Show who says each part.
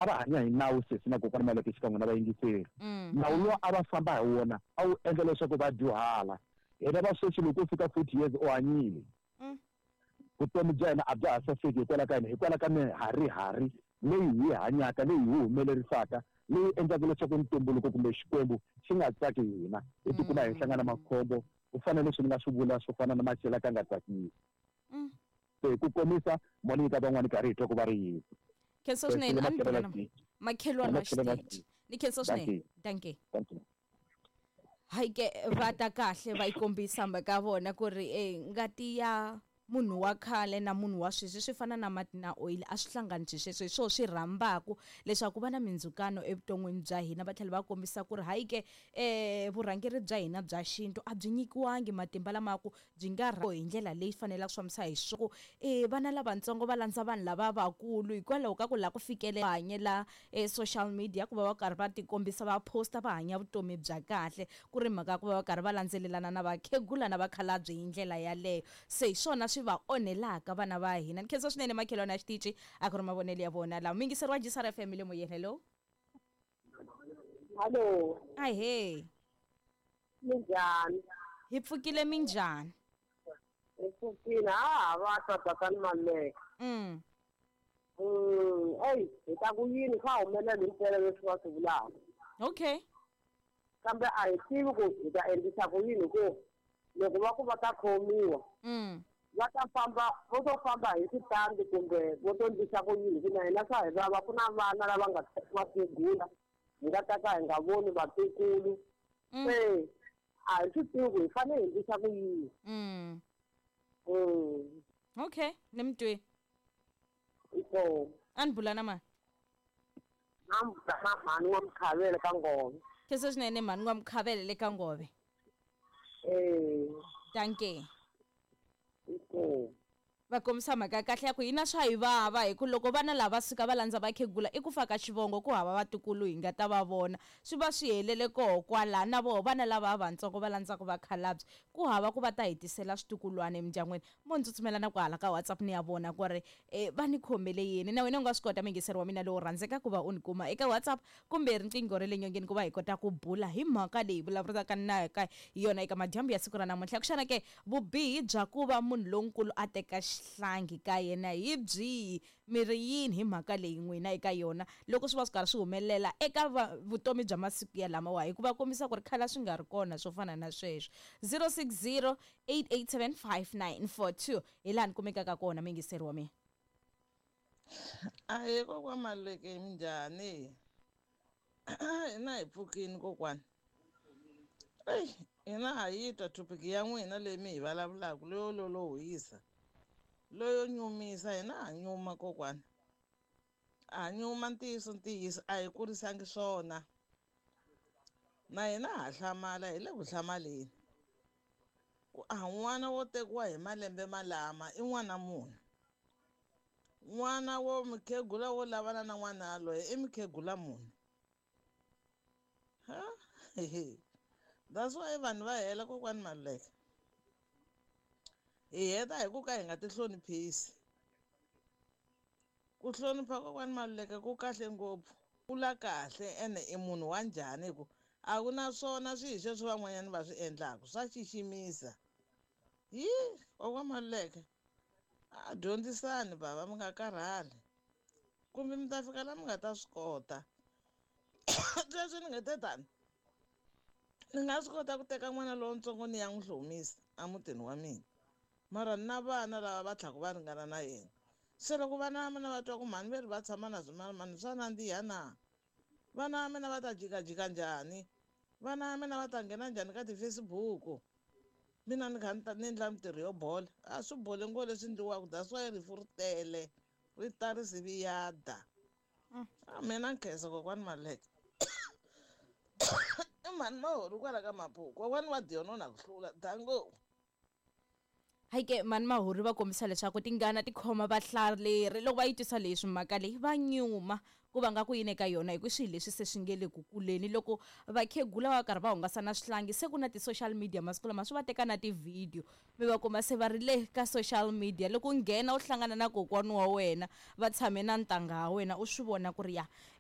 Speaker 1: A va hanya hi nawu sesi na kokwana Maleke xikan'we na vayingiseri. Nawu luwa a va famba hi wona a wu endla leswaku va dyuhala. Hina va sweswi loko u fika 40 years u hanyile. Vutomi bya hina a bya ha saseki hikwalaho ka yini? Hikwalaho ka miharihari leyi hi yi hanyaka, leyi hi humelerisaka, leyi endlaka leswaku ntumbuluko kumbe Xikwembu xi nga tsaki hi hina. Hi tikuma hi hlangana makhombo ku fana na leswi ni nga swi vula swo fana na macela ka nga tsakisi. Se hi ku komisa, mo ni nyika van'wana karhi hi twa ku va ri yini.
Speaker 2: Khensa swinene a ni bula na makhelwani wa xiteji. Ni khensa swinene. Dankie. Hayi ke va ta kahle va yi kombisa mhaka ya vona ku ri e ngati ya munhu wa khale na munhu wa sweswi swi fana na mati na oyili a swi hlangani swi sweswo hi swona swi rhambaku leswaku ku va na mindzhukano evuton'wini bya hina va tlhela va kombisa ku ri hayi ke um vurhangeri bya hina bya xintu a byi nyikiwangi matimba lama ku byi nga hi ndlela leyi fanelaka swi fambisa hi swona e vana lavatsongo va landza vanhu lava vakulu hikwalaho ka ku lava ku fikelela hanyela e social media ku va va karhi va tikombisa va posta va hanya vutomi bya kahle ku ri mhaka ya ku va va karhi va landzelelana na vakhegula na vakhalabye hi ndlela yaleyo se hi swona swi va onhelaka vana va hina ni khensa swinene makhelwani ya xitici a ku ri mavonelo ya vona lawa muyingiseri wa Gisara FM le moyeni hello.
Speaker 3: Hallo.
Speaker 2: Ahee.
Speaker 3: Minjhani?
Speaker 2: Hi pfukile minjhani?
Speaker 3: Hi pfukile ha ha va twa tatani Maluleke. Eyi hi ta ku yini swa humelela himpela leswi va swi vulaka.
Speaker 2: Okay.
Speaker 3: Kambe a hi tivi ku hi ta endlisa ku yini hi ku loko va ku va ta khomiwa va ta famba vo to famba hi switandi kumbe vo to endlisa ku yini hi ku na hina swa hi vava ku na vana lava nga vakhegula hi nga ta ka hi nga voni vatukulu se a hi swi tivi ku hi fanele hi endlisa ku yini.
Speaker 2: Okay, ni mi twile.
Speaker 3: Inkomu.
Speaker 2: A ni bula na mani?
Speaker 3: A ni bula na mhani wa Mkhavele ka Ngove.
Speaker 2: Khensa swinene mhani wa Mkhavele le ka Ngove.
Speaker 3: Eh.
Speaker 2: Dankie.
Speaker 3: Inkomu.
Speaker 2: Va kombisa mhaka ya kahle ya ku hina swa hi vava hi ku loko vana lava va suka va landza vakhegula i ku fa ka xivongo ku hava vatukulu hi nga ta va vona swi va swi helele koho kwala na voho vana lava vatsongo va landzaka vakhalabye ku hava ku va ta hi tisela switukulwana emindyangwini mo ni tsutsumela na kwahala ka WhatsApp ni ya vona ku ri e va ni khomele yini na wena u nga swi kota muyingiseri wa mina lowo rhandzeka ku va u ni kuma eka WhatsApp kumbe riqingho ra le nyongeni ku va hi kota ku bula hi mhaka leyi vulavulaka na ka hi yona eka madyambu ya siku ra namuntlha xana ke vubihi bya ku va munhu lonkulu a teka xihlangi ka yena hi byihi mi ri yini hi mhaka leyi n'wina eka yona loko swi va swi karhi swi humelela eka vutomi bya masiku ya lamawa hikuva kombisa ku ri khale a swi nga ri kona swo fana na sweswo 060 887 5942 hi laha ni kumekaka kona muyingiseri wa mina.
Speaker 4: Ahee kokwa Maluleke minjhani? Hina hi pfukini kokwani. Eyi hina ha yi twa topic ya n'wina leyi mi hi vulavulaka leyo lolohisa leyo nyumisa hina ha nyuma kokwani. Ha nyuma ntiyiso ntiyiso a hi kurisangi swona na hina ha hlamala hi le ku hlamaleni ku a n'wana wo tekiwa hi malembe malama i n'wana munhu n'wana wo mukhegula wo lavana na n'wana yaloye i mukhegula munhu ha that's why vanhu va hela kokwani Maluleke hi heta hi ku ka hi nga ti hloniphisi ku hlonipha kokwani Maluleke ku kahle ngopfu kula kahle ene i munhu wa njhani hi ku a ku na swona swihi sweswi van'wanyana va swi endlaka swa xiximisa yi kokwa Maluleke a dyondzisani bava mi nga karhali kumbe mi ta fika la mi nga ta swi kota sweswi ni nge te tani ni nga swi kota ku teka n'wana lowuntsongo ni ya n'wi hlomisa emutini wa mina mara ni na vana lava va tlhaka va ringana na yena se loko vana va mina va twa ku mhani ve ri va tshama na swimanimani swa nandziha na vana va mina va ta jikajika njhani vana va mina va ta nghena njhani ka ti-Facebook mina ni kha ni ta ni endla mintirho yo bola a swi bole ngo leswi endliwaka that's why rifu ri tele ri ta ri siviyada a mina nkhensa kokwani Maluleke i mhani mahori kwala ka Maphuku kokwani wa Diono na ku hlula dango.
Speaker 2: Hayi ke mani Mahuri va kombisa leswaku tingana ti khoma vahlaleri loko va yi twisa leswi mhaka leyi va nyuma ku va nga ku yini eka yona hi ku swilo leswi se swi nge le ku kuleni loko vakhegula va karhi va hungasa na swihlangi se ku na ti-social media masiku lama swi va teka na ti-video mi va kuma se va ri le ka social media loko u nghena u hlangana na kokwani wa wena va tshame na ntangha wa wena u swi vona ku ri ya.